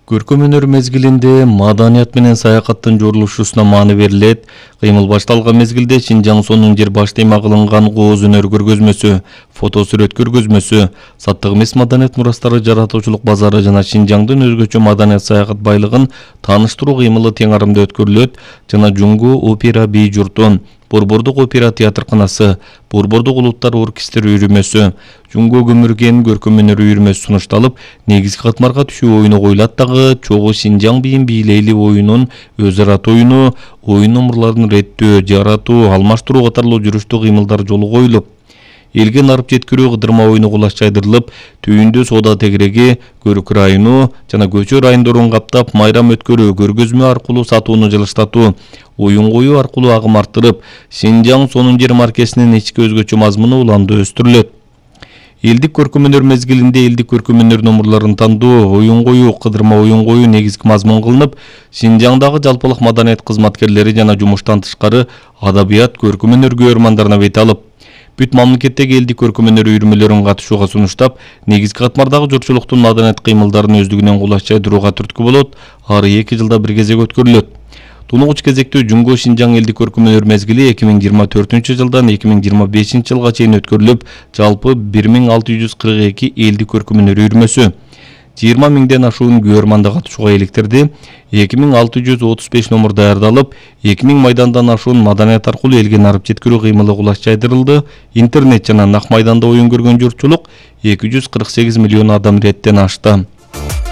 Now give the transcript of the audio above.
Көркөм өнөр мезгилинде маданият менен саякаттын жорулушусуна маани берилет. Кыймыл башталган мезгилде Шинжаң сонун жер баш тема кылынган кооз өнөр көргөзмөсү, фото сүрөт көргөзмөсү, Саттык эмес маданият мурастары жаратуучулук базары жана Шинжаңдын өзгөчө маданият саякат байлыгын тааныштыруу кыймылы тең арымда өткөрүлөт жана Жуңго опера бий журту, Борбордук опера театрканасы, Борбордук улуттар оркестри үйрүмөсү, Жуңго көмүрген көркөм өнөр үйрүмөсү сунушталып, негизги катмарга түшүү оюну коюлат дагы. Чогуу Шинжаң бийин бийлейли оюнун өз ара тоюну, оюн номурларын реттөө, жаратуу, алмаштыруу катарлуу жүрүштүү кыймылдар жолу коюлуп, элге нарып жеткирүү кыдырма оюну кулаш жайдырылып, түйүндө соода тегереги, көрүк району жана көчө райондорун каптап, майрам өткөрүү, көргөзмө аркылуу сатууну жылыштатуу, оюн коюу аркылуу агым арттырып, Шинжаң сонун жер маркесинин ички өзгөчө мазмуну уланды өстүрүлөт. Элдик көркөм өнөр мезгилинде элдик көркөм өнөр номурларын тандоо, оюн коюу, кыдырма оюн коюу негизги мазмун кылынып, Шинжаңдагы жалпылык маданият кызматкерлери жана жумуштан тышкары адабият, көркөм өнөр көрөрмандарына бет алып, бүт мамлекеттеги элдик көркөм өнөр үйрүмөлөрүн катышууга сунуштап, негизги катмардагы журтчулуктун маданият кыймылдарын өздүгүнөн кулаш жайдырууга түрткү болот. Ары 2 жылда бир кезек өткөрүлөт. Тунугуч кезектүү Жуңго Шинжаң элдик көркөм өнөр мезгили 2024-жылдан 2025-жылга чейин өткөрүлүп, жалпы 1642 элдик көркөм өнөр үйрүмөсү, 20 миңден ашуун көрөрман катышууга иликтирди. 2635 номур даярдалып, 2000 майдандан ашуун маданият аркылуу элге нарып жеткирүү кыймылы кулаш жайдырылды. Интернет жана нак майданда оюн көргөн журтчулук 248 миллион адам иреттен ашты.